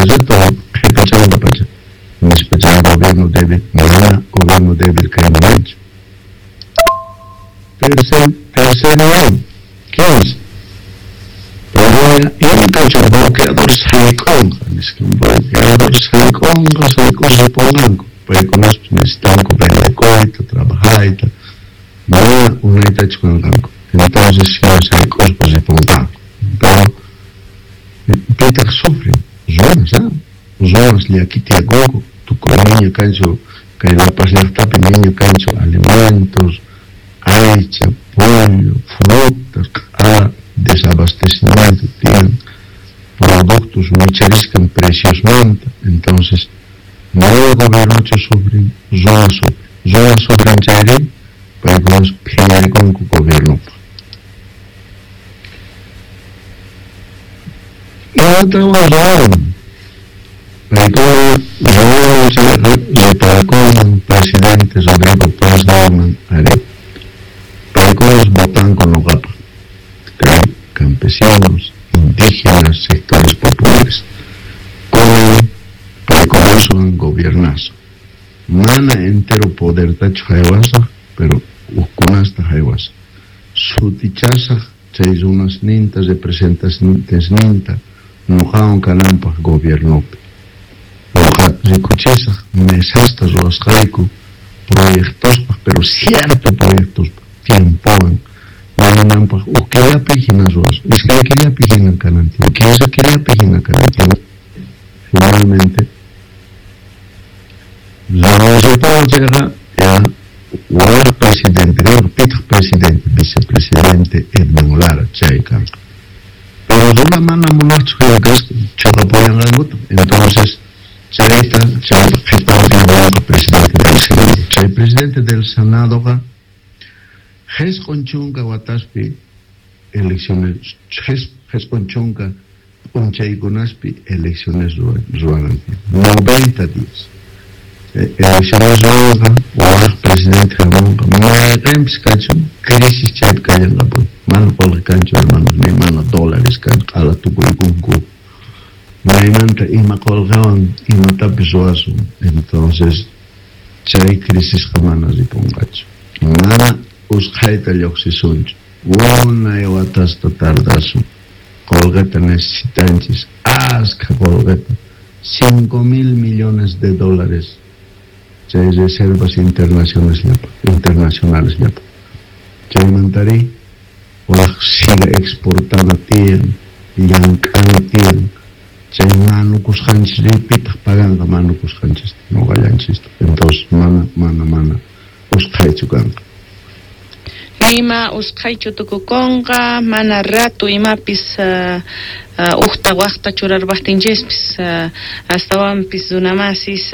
Rato qhipachanqa pacha. Nispa chay gobierno débil, mana gobierno débil kay munanchu. Tercer nivel, 15. Pero imatachu bloqueadores sayk'unqa, nisqa bloqueadores sayk'unqa, sayk'uspa ripunqanku. Paykunaspis necesitanku vendekuyta, trabajayta, mana unaytachu kanqanku. Entonces hina sayk'uspa ripunqanku. Pero pitaq sufren? Runas, ah? Runas llakita yakunku, tukuy niña kanchu kay La Paz llaqtapi niña kanchu alimentos, aycha, pollo, frutas, q'ala desabastecimiento tiyan, productos wicharisqan preciosmanta. Entonces, mana gobiernochu sufren, runas sufren. Runas sufren chayri, paykunas phiñarikunku gobiernopaq. Imatawan ruwan? Paykuna ruwan chayqa reparakunman presidente Rodrigo Paz ninman, ari, paykunas votanku noqapaq, kay campesinos, indígenas, sectores populares. Kunan paykunaswan gobiernasun. Mana entero podertachu haywasaq, pero hukkunasta haywasaq. Sutichasaq chay runasninta, representantesninta noqawan kananpaq gobiernopi. Noqa rikuchisaq mesasta ruwasqayku proyectospaq, pero cierto proyectospaq, tiempowan wañunanpaq huk killapi hina ruwasun, iskay killapi hina kanan tiyan, 15 killapi hina kanan tiyan. Finalmente, renunciapuwan chayqa ya waq presidente kanqa, pitaq presidente, vicepresidente Edwin Lara chay kanqa. Pero runa mana munaqchu hina kasqa, choqapuyanqankuta. Entonces, chayta, chaypa qhipanpi hamunqa presidente del Senado. Chay presidente del Senadoqa 90 wataspi elecciones, 90 p'unchaykunaspi elecciones ruwanan tiyan, 90 días. Elecciones ruwanqa, waq presidente hamunqa, mayqinpis kachun, crisis chaypi kallanqapuni. Mana qolqe kanchu, hermanos, ni mana dólares kan, q'ala tukuykunku. Maymanta ima qolqewan imatapis ruwasun. Entonces, chay crisisqa mana ripunqachu. Mana usqhayta lluqsisunchu. Unay watasta tardasun. Qolqeta necesitanchis, askha qolqeta, 5 mil millones de dólares chay reservas internacionales llapa, internacionales llapa. Chaymantari waq siga exportana tiyan, llank'ana tiyan. Chay manukusqanchis pitaq paganqa manukusqanchista, noqallanchista. Entonces mana, mana, mana usqhaychu kanqa. Ima usqhaychu tukukunqa, mana rato imapis uqta waqta churarpaqtinchispis, astawanpis runamasis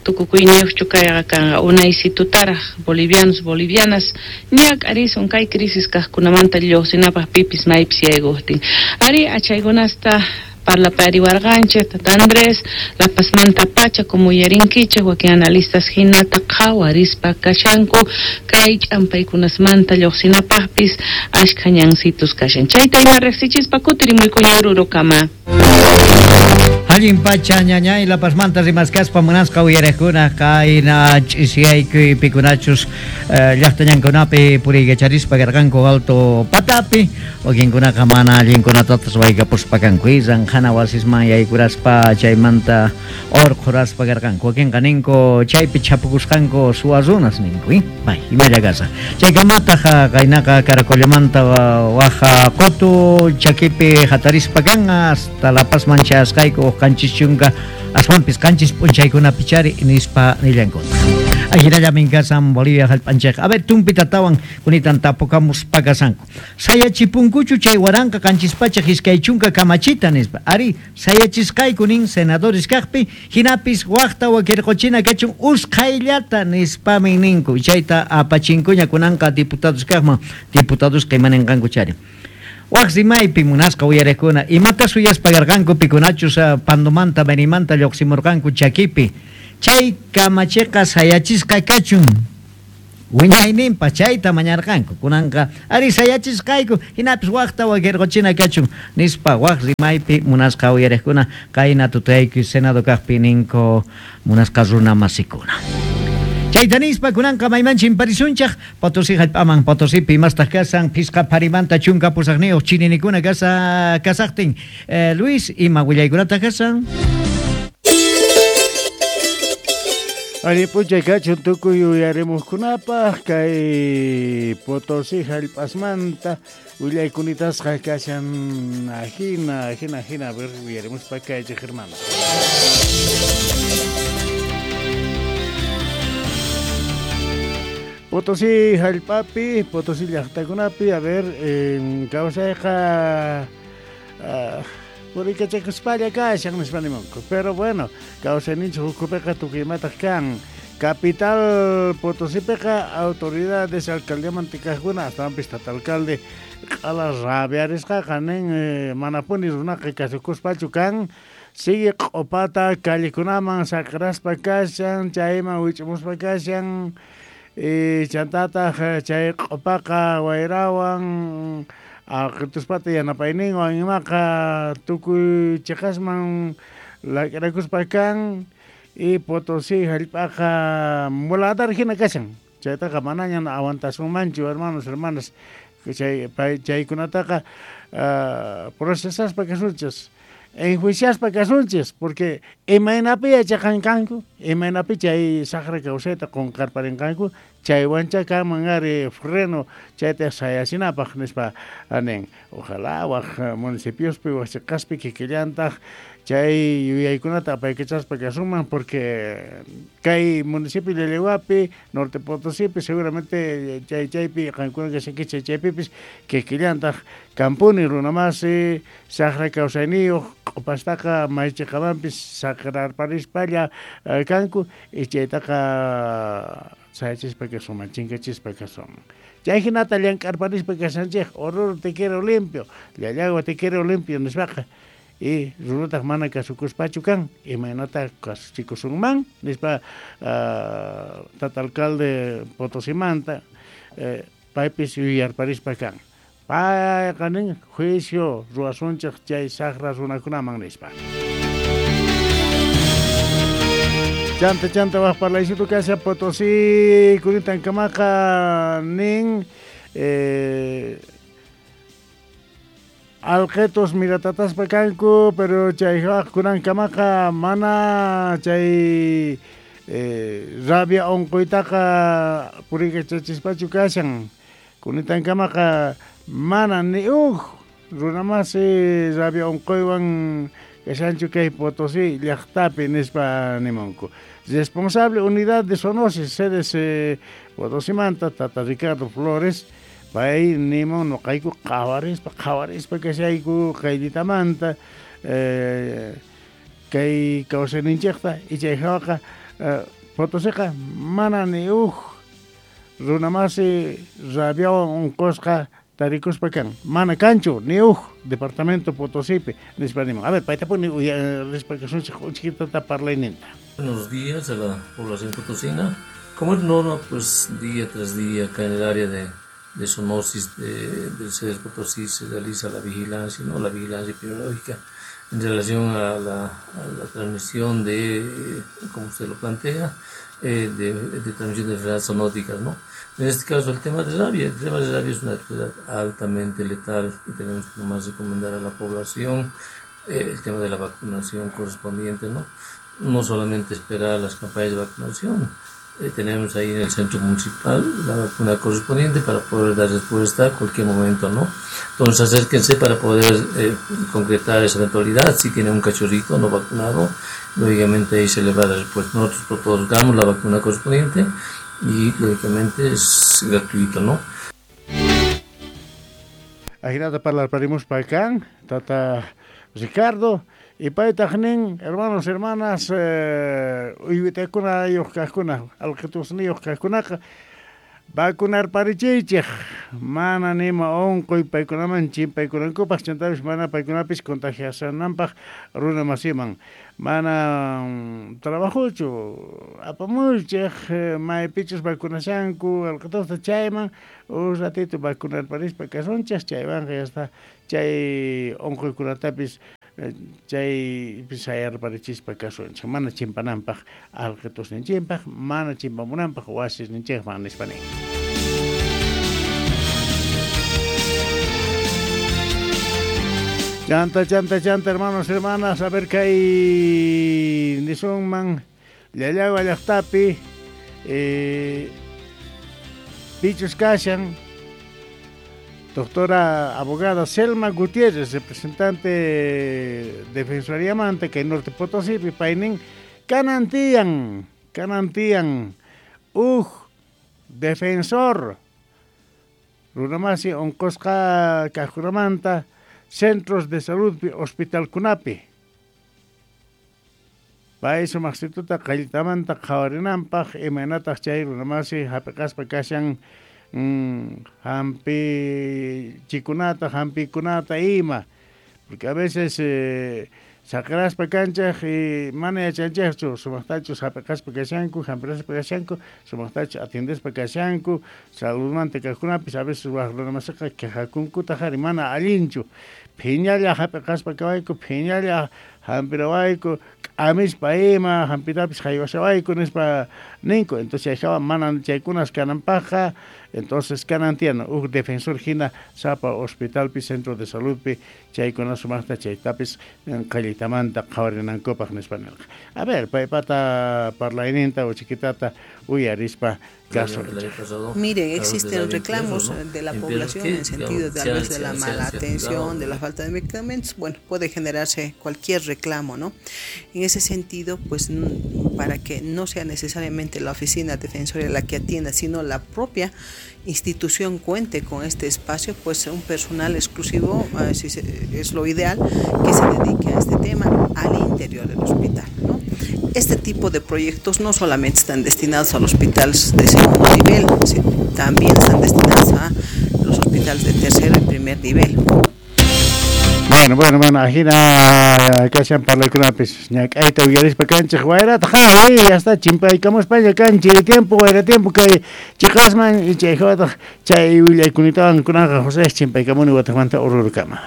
tukukuyniyuqchu kayqa kanqa unaysitutaraq bolivianos, bolivianas ñak'arisun kay crisis kaqkunamanta lluqsinapaq pipis maypis yaykuqtin. Ari, achaykunasta parlapariwarqanchik tata Andrés, La Pazmanta pacha como uyarinkichik wakin analistas hinata qhawarispa kashanku kay ch'ampaykunasmanta lluqsinapaqpis ashkha ñansitus kashan. Chayta ima riqsichispa kutirimuykuña Orurokama. Allin pacha ñañay, La Pazmanta rimaskaspa munasqa uyariqkuna, qayna ch'isiyaykuy pikunachus llaqtañankunapi puriykacharispa karqanku alto patapi, wakinkunaqa mana allinkunatatas waykapuspa kanku, ranqhana wasisman yaykuraspa chaymanta urqhuraspa karqanku, wakinqa ninku chaypi chhapukusqanku suwa runas ninku, bay imalla kasaq chaykamataq qaynaqa Caracollamanta waja qutu chakipi hatarispa kan hasta La Pazman chayasqayku 70 aswanpis 7 p'unchaykunapi chari nispa nillankutaq. Ajinallamin kasan Bolivia hallp'anchikqa. A ver, tumpitatawan kunitan tapukamuspa kasanku. Sayachipunkuchu chay 1720 kamachita nispa. Ari, sayachisqayku nin senadores kaqpi, hinapis waqta wakirquchina kachun usqhayllata nispamin ninku. Chayta apachinkuña kunanqa diputados kaqman, diputados qimaninqanku chari. Waq rimaypi munasqa uyariqkuna, imata suyaspa karqanku pikunachus Pandomanta, Benimanta lluqsimurqanku chakipi. Chay kamachiqa sayachisqa kachun. Wiñayninpaq chayta mañarqanku. Kunanqa ari sayachisqayku hinapis waqta wakirquchina kachun nispa waq rimaypi munasqa uyariqkuna qayna tutayku Senado kaqpi ninku munasqa runa masikuna. Chayta nispa kunanqa mayman chimparisunchaq Potosí hallp'aman Potosipi imastaq kasan phisqa pharimanta chunka pusaqniyuq chininikuna kasa kasaqtin. Luis, ima willaykunataq kasan? Allin p'unchay kachun tukuy uyarimuqkunapaq kay Potosí hallp'asmanta willaykunatasqa kashan ajina ajina ajina a ver uyarimuspa kaychik hermano. Potosí hallp'api, Potosí llaqtakunapi, a ver, kawsayqa puriykachakuspalla kashan nispa nimunku. Pero bueno, kawsayninchik ukhupiqa tukuy imataq kan. Capital Potosípiqa autoridades alcaldiamanta kaqkuna astawanpis tata alcalde q'ala rabiarisqaqa nin manapuni runaqa kasukuspachu kan. Sigue q'upata callekunaman saqraspa kashan, chayman wich'umuspa kashan. Chantataq chay q'upaqa wayrawan alqituspata yanapayninwan imaqa tukuy chiqasman lak'irakuspa kan y Potosí hallp'aqa muladar hina kashan. Chaytaqa manaña aguantasunmanchu hermanos, hermanas, chay chaykunataqa procesaspa kasunchis, enjuiciaspa kasunchis, porque imaynapi yachaqankanku, imaynapi chay saqra kawsayta qunqarparinqanku, chaywancha kanman ari freno chayta sayasinapaq nispa nin. Ojalá waq municipiospi waq chiqaspi kikillantaq chay yuyaykunata apaykachaspa kasunman, porque kay municipio Llallagüapi, Norte Potosípi, seguramente chay chaypi qankuna kashankichik chaypipis kikillantaq kampuni runamasi saqra kawsayniyuq q'upastaqa maychiqamanpis saqrarparispalla kanku y chaytaqa sayachispa kasunman, chinkachispa kasunman. Chay hinata llank'arparispa kashanchik, Oruro te quiero limpio, Llallagua te quiero limpio nispaqa. Y runataq mana kasukuspachu kan, imaynata kasuchikusunman nispa tata alcalde Potosimanta paypis yuyarparispa kan. Payqa nin juicio ruwasunchik chay saqra runakunaman nispa. Chanta chanta waq parlaysitu kasha Potosí kunitankamaqa nin alqetos miratataspa kanku, pero chay kunankamaqa mana chay rabia unquytaqa puriykachachispachu kashan. Kunitankamaqa mana ni uj runamasi rabia unquywan kashanchu kay Potosí llaqtapi nispa nimunku. Responsable unidad de zoonosis CDC Potosimanta tata Ricardo Flores pay nimun noqayku qhawarispa qhawarispa kashayku qayllitamanta kay kawsayninchikta y chay hawaqa Potosiqa mana ni uj runamasi rabiawan unqusqa tarikuspa kan, mana kanchu ni uj departamento Potosipi nispa nimun. A ver, paytapuni rispa kasunchik uchkitata parlayninta. Buenos días a la población potosina. Como es norma, pues día tras día acá en el área de zoonosis del CEDES Potosí se realiza la vigilancia, ¿no? La vigilancia epidemiológica en relación a la transmisión de, como usted lo plantea, de transmisión de enfermedades zoonóticas, ¿no? En este caso el tema de rabia, el tema de rabia es una enfermedad altamente letal y tenemos que nomás recomendar a la población el tema de la vacunación correspondiente, ¿no? No solamente esperar las campañas de vacunación, tenemos ahí en el centro municipal la vacuna correspondiente para poder dar respuesta a cualquier momento, ¿no? Entonces acérquense para poder concretar esa eventualidad. Si tiene un cachorrito no vacunado, lógicamente ahí se le va a dar respuesta. Nosotros otorgamos la vacuna correspondiente y lógicamente es gratuito, ¿no? Ajinata parlarparimus pa kan, tata Ricardo. Y paytaq nin, hermanos, hermanas, uywitakuna yuq kaqkuna, alqitusniyuq kaqkunaqa, Vacunarparichiychik mana nima unquy paykunaman chimpaykunankupaq chantapis mana paykunapis contagiasananpaq runa masiman mana trabajochu apamuychik maypichus vacunashanku alqitusta chayman un ratito vacunarparispa kasunchik chaywanqa ya está chay unquykunatapis chay sayarparichispa kasunchik mana chimpananpaq alqitusninchikpaq mana chimpamunanpaq wasisninchikman nispa nin. Chanta, chanta, chanta, hermanos, hermanas, a ver kay nisunman Llallagua llaqtapi pichus kashan doctora abogada Selma Gutiérrez, representante Defensoría Manta, kay Norte Potosí, paynin kanantiyan, uj defensor runamasi unqusqa kaqkunamanta centros de salud hospital kunapi pay sumaqsituta qalltamanta qhawarinanpaq imaynataq chay runamasi hap'iqaspa kashan hampichikunata hampikunata ima porque a veces saqiraspa kanchik y mana yachanchikchu sumaqtachus hap'iqaspa kashanku hampiraspa kashanku sumaqtachus atiendespa kashanku saludmanta kaqkunapis a veces waq runamasiqa quejakunkutaq ari mana allinchu phiñalla hap'iqaspa kawayku phiñalla hampirawayku k'amispa ima hampitapis haywashawayku nispa ninku entonces chayhawa mana chaykunas kananpaqqa entonces kanan tiyan huk defensor hina sapa hospitalpi centro de saludpi chaykuna sumaqta chaytapis qallitamanta qhawarinankupaq nispa nirqa. A ver, paypata parlayninta uchiquitata uyarispa caso. Miren, existen reclamos de la población en sentido de, tal vez de la mala atención, de la falta de medicamentos. Bueno, puede generarse cualquier reclamo, ¿no? En ese sentido, pues para que no sea necesariamente la oficina defensoria la que atienda, sino la propia institución cuente con este espacio, pues un personal exclusivo, si es lo ideal, que se dedique a este tema al interior del hospital, ¿no? Este tipo de proyectos no solamente están destinados a los hospitales de segundo nivel, sino también están destinados a los hospitales de tercero y primer nivel. Bueno, ajina kashan parlaykunapis ñak'ayta uyarispa kanchik wayrata ja hasta chimpaykamuspaña kanchik tiempo wayra tiempo kay chiqasman chay hawataq chay willaykunatawan kunaqa José chimpaykamuni wataqmanta ururukama.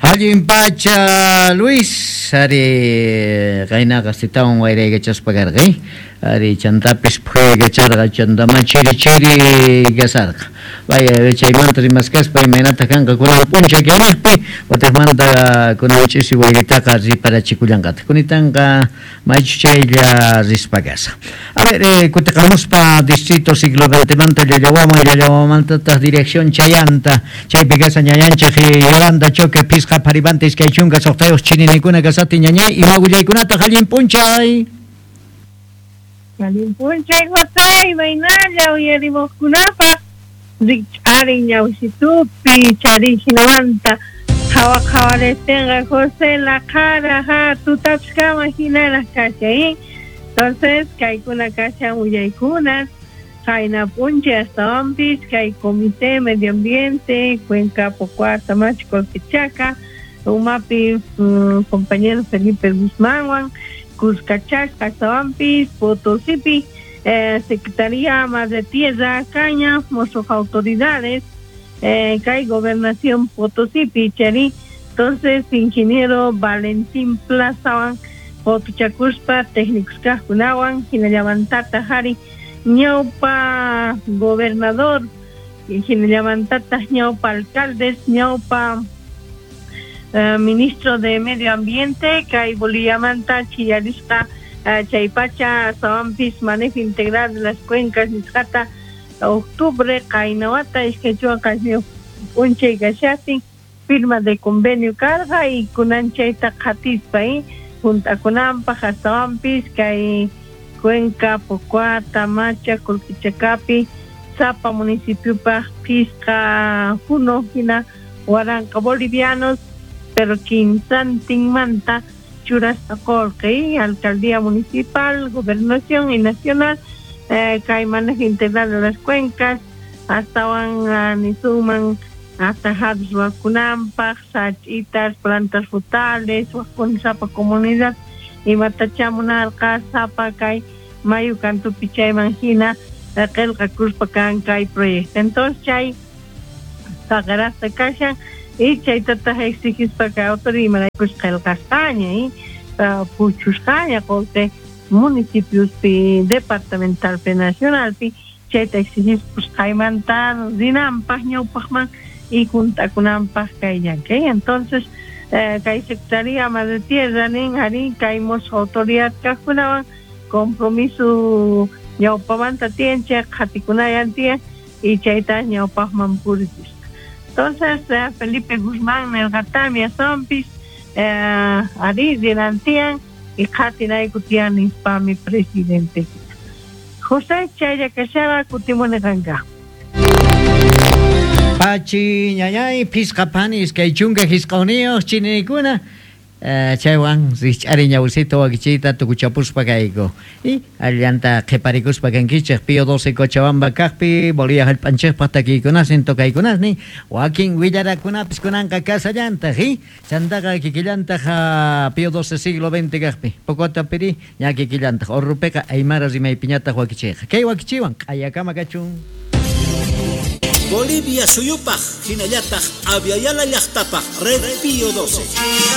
Allin pacha Luis ari qaynaqa sitawan wayraykachaspa karqa ari chantapis phuyaykacharqa chantama chiri chiri kasarqa vaya chaymanta rimaskaspa imaynataq kanqa kunan p'unchay kaniqpi wataqmanta kunan ch'isi wayritaqa riparachikullanqataq kunitanqa maychu chaylla rispa kasa. A ver, kutiqamuspa distrito siglo XX Llallawaman Llallawamantataq dirección chayanta chaypi kasa ñañanchik Yolanda Choque pisqa paribante iskay chunka suqtayuq chininikuna kasati ñañay ima willaykunataq allin p'unchay. Allin p'unchay José imaynalla uyarimuqkunapaq rikch'arin ñawsitupi charin hinamanta qhawa qhawaristinqa José laqhara ha tutapis kama hinaraq kashan. Entonces kaykuna kashan willaykunas qayna p'unchay astawanpis kay Comité Medio Ambiente Cuenca Pocua Tamachi Colquechaca umapi compañero Felipe Guzmánwan Cuscachaspa astawanpis Potosipi Secretaría Madre Tierra Caña mosos autoridades kay Gobernación Potosipi chari. Entonces ingeniero Valentín Plazawan Potuchakuspa técnicos kaqkunawan hinallamantata hari ñawpa gobernador hinallamantata ñawpa alcaldes ñawpa ministro de Medio Ambiente kay Boliviamanta chillarisqa chaypacha astawanpis manejo integral de las cuencas nisqata octubre qaynawata iskay chunka qanchis p'unchay kashastin firma de convenio karqa y kunan chayta qhatispa juntakunanpaq astawanpis kay Cuenca, Pocua, Tamacha, Colquichacapi, Zapa municipiopaq pisqa huno hina waranqa bolivianos pero quinsantinmanta churasqa qullqi alcaldía municipal, gobernación y nacional Kay manejo integral de las cuencas astawan nisunman atajados wakunanpaq, sachitas, plantas frutales, wakuna sapa comunidad imatacha munarqa sapa kay mayu kantupi chayman hina qillqakuspa kan kay proyecto. Entonces chay saqarasta kashan y chaytataq exigispa kay autoridad imaraykus qillqasqaña y puchusqaña qullqi municipiospi departamentalpi nacionalpi chayta exigispa qaymanta rinanpaq ñawpaqman y juntakunanpaq kay llank'ay. Entonces kay Secretaría Madre Tierra nin arí kay musuq autoridad kaqkunawan compromiso ñawpamanta tiyan chay qhatikunayan tiyan y chayta ñawpaqman purichisqa. Entonces Felipe Guzmán nirqatami astawanpis arí rinan tiyan y qhatinayku tiyan nispami presidente. José chaylla kashara kutimuni qanka. Pachi ñañay pisqa panis kay chunka hisqawniyuq chinikuna chaywan rich'ari ñawsito wakichiyta tukuchapuspa kayku y allanta qhiparikuspa kankichik Pío 12 Cochabamba kaqpi Bolivia hallp'anchikpaq takiykunasnin tokaykunasnin wakin willarakunapis kunanqa kasallantaq y chantaqa kikillantaq Pío 12 siglo XX kaqpi Pocota piri ña kikillantaq Orrupiqa aymara rimaypiñataq wakichiyqa kay wakichiwan q'ayakama kachun. Bolivia suyupaq hinallataq Aviala llaqtapaq Red Pío 12.